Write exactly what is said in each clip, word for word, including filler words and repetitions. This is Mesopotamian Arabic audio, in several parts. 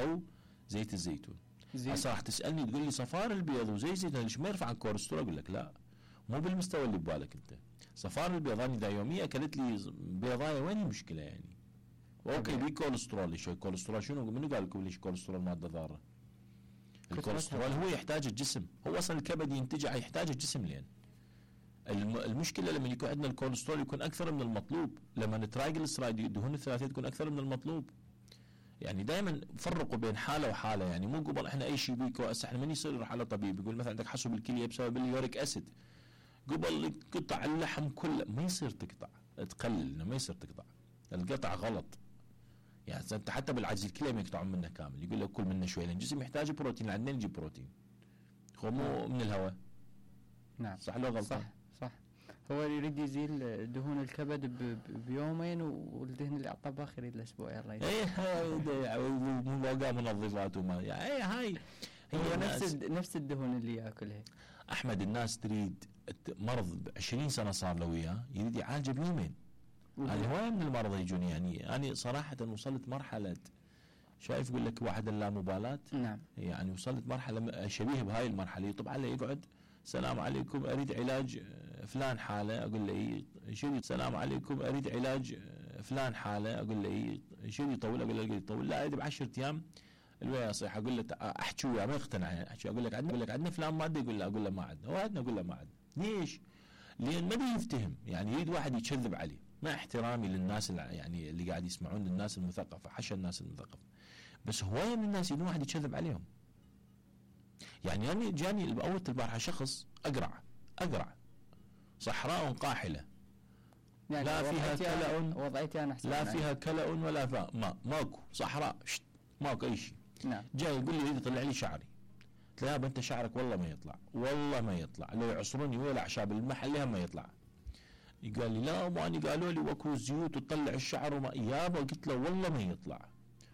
او زيت الزيتون. هسه راح تسالني تقول لي صفار البيض وزيت الزيتون ليش ما يرفع الكوليسترول؟ اقول لك لا، مو بالمستوى اللي ببالك انت. صفار البيض انا اذا يوميا اكلت لي بيضايه وين المشكله يعني؟ اوكي بي كوليسترول، شو الكوليسترول؟ شنو منو قال لكم ليش كوليسترول ماده ضاره؟ الكوليسترول هو يحتاج الجسم، هو اصلا الكبد ينتجه يحتاج الجسم. لين المشكله لما يكون عندنا الكوليسترول يكون اكثر من المطلوب، لما الترايجلسرايد الدهون الثلاثيه تكون اكثر من المطلوب. يعني دائما فرقوا بين حاله وحاله، يعني مو قبل احنا اي شيء بيكو هسه احنا من يصير يروح على طبيب يقول مثلا عندك حصو بالكليه بسبب اليوريك اسيد، قبل قطع اللحم كله ما يصير تقطع، تقلل ما يصير تقطع، القطع غلط. يعني انت حتى بالعجز الكليه ما يقطعون منه كامل، يقول لك كل منه شوي لان الجسم يحتاج بروتين، عندنا نجيب بروتين هو مو من الهواء. نعم صح لو غلط؟ صح صح. هو يريد يزيل دهون الكبد بيومين والدهن اللي على الطباخ يريد الاسبوع يلا. اي هاي مو بقى منظفات وما يعني اي هاي هي نفس نفس الدهون اللي ياكلها. احمد الناس تريد مرض عشرين سنه صار له وياه يريد يعالجه بيومين. هذه هوايه من المرضى يجوني، يعني انا صراحه وصلت مرحله شايف يقول لك واحد اللامبالاه. نعم. يعني وصلت مرحله شبيه بهاي المرحله، يطب علي يقعد السلام عليكم اريد علاج فلان حاله، اقول له اي شو السلام عليكم اريد علاج فلان حاله، اقول له اي شو يطول، اقول له يطول لا اريد بعشرة ايام الويا يصيح، اقول له احكي وياه ما يقتنع يعني احكي، اقول لك عندنا اقول لك عندنا فلان ماده، يقول له اقول له ما عندنا، وعندنا اقول له ما عندنا. ليش؟ لان ما بيفتهم، يعني يريد واحد يكذب عليه. مع احترامي للناس يعني اللي قاعد يسمعون الناس المثقفه، حشا الناس المثقفه، بس هوايه من الناس يريدون واحد يكذب عليهم. يعني انا جاني باول البارحه شخص اقرع اقرع صحراء قاحله يعني لا فيها كلأ وضعيتي انا لا فيها كلأ ولا فاء ما ماكو صحراء شت ماكو اي شيء. نعم. جاي يقول لي يريد يطلع لي شعري، قلت له يابا انت شعرك والله ما يطلع، والله ما يطلع، لو يعصروني ولا اعشاب المحل ما يطلع. قال لي لا واني قالوا لي وكو الزيوت وتطلع الشعر وما يابا، قلت له والله ما يطلع.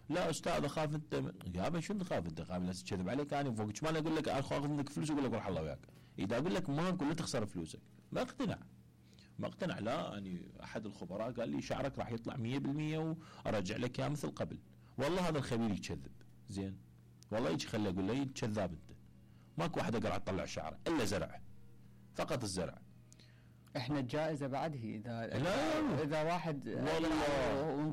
لا استاذ اخاف انت، يابا شو تخاف انت؟ خاف الناس تكذب عليك انا فوق ما اقول لك اخاف منك فلوس اقول لك روح الله وياك. اذا اقول لك ما اقول لا تخسر فلوسك ما اقتنع ما اقتنع. لا يعني احد الخبراء قال لي شعرك راح يطلع مية بالمية وارجع لك يا مثل قبل. والله هذا الخبير يكذب زين، والله يجي خلي اقول له كذاب انت، ماكو واحد اقدر اطلع شعره الا زرع، فقط الزرع. احنا الجائزه بعد هي اذا لا اذا واحد والله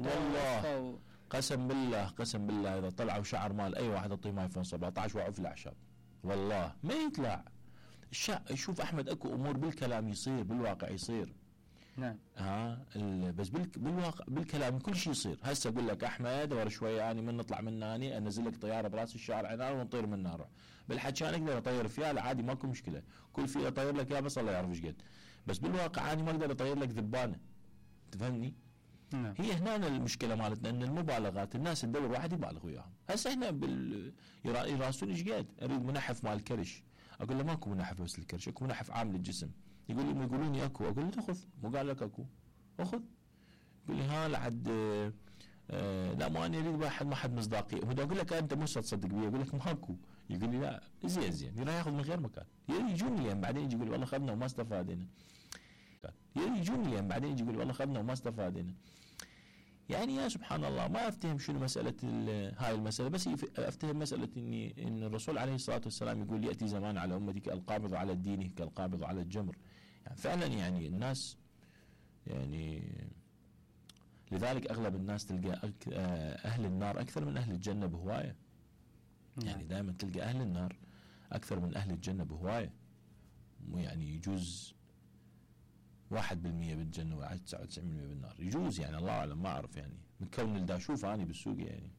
والله و... قسم بالله قسم بالله اذا طلعوا شعر مال اي واحد اعطيه ايفون سبعة عشر وقعوا في الاعشاب والله ما يطلع. الشع... شوف احمد اكو امور بالكلام يصير بالواقع يصير. نعم. ها ال... بس بال... بالواقع بالكلام كل شيء يصير. هسه اقول لك احمد ورا شويه اني من نطلع من هاني انزل لك طياره براس الشارع عنان ونطير من نار. بالحكي انا اقدر اطير فيها عادي ماكو مشكله، كل فيه اطير لك يا بس الله يعرف ايش قد. بس بالواقع اني ما اقدر اطير لك ذبانه. تفهمني؟ نعم. هي هنا المشكله مالتنا ان المبالغات الناس تدور واحد يبالغ وياهم. هسه احنا بال يراسلون ايش قد اريد منحف مال الكرش، اقول له ماكو منحف بس الكرش، اكو منحف عام للجسم. يقول لي يقولون لي اكو، اقول له خذ مو قال لك اكو اخذ. يقول لي ها لحد آه آه لا ما انا اريد واحد ما حد مصداقيه. هو اقول لك انت مو تصدق بي، اقول لك ماكو. يقول لي لا زين زين يروح ياخذ من غير مكان. يجوني يعني بعدين يجي يقول والله اخذنا وما استفادنا. يجوني يعني بعدين يجي يقول والله اخذنا وما استفادنا. يعني يا سبحان الله ما افتهم شنو مساله هاي المساله، بس افتهم مساله اني ان الرسول عليه الصلاه والسلام يقول ياتي زمان على امتك القابض على الدين كالقابض على الجمر. يعني فعلا يعني الناس يعني لذلك اغلب الناس تلقى اهل النار اكثر من اهل الجنه بهوايه. يعني دائما تلقى اهل النار اكثر من اهل الجنه بهوايه. يعني يجوز واحد بالمية بالجنة وواحد تسعة وتسعين بالمية بالنار يجوز، يعني الله أعلم ما أعرف يعني من كون اللي أشوفه أنا بالسوق يعني.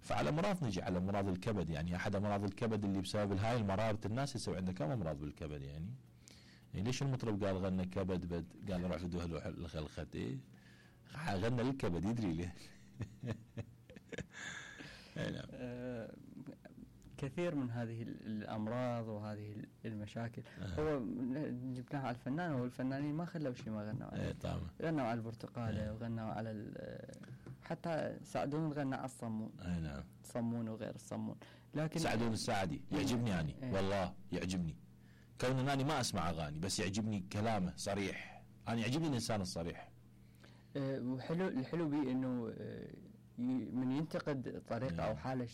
فعلى أمراض نجي على أمراض الكبد، يعني أحد أمراض الكبد اللي بسبب هاي المرارة الناس يسوي عندها كم أمراض بالكبد يعني. يعني ليش المطرب قال غنى كبد بد قال روح فدوه الخلخت إيه غنى للكبد يدري ليه. نعم. أه كثير من هذه الأمراض وهذه المشاكل أه. هو جبناها على الفنان، والفنانين ما خلوا شيء ما غنوا عليه. طبعا غنوا على البرتقالة أه. وغنوا على حتى سعدون غنى على الصمون. اي نعم. صمون وغير الصمون. لكن سعدون الساعدي يعجبني يعني أه. والله يعجبني كون اني ما اسمع اغاني بس يعجبني كلامه صريح. انا يعجبني الانسان الصريح. أه وحلو الحلو بيه انه أه من ينتقد طريقه أه. او حاله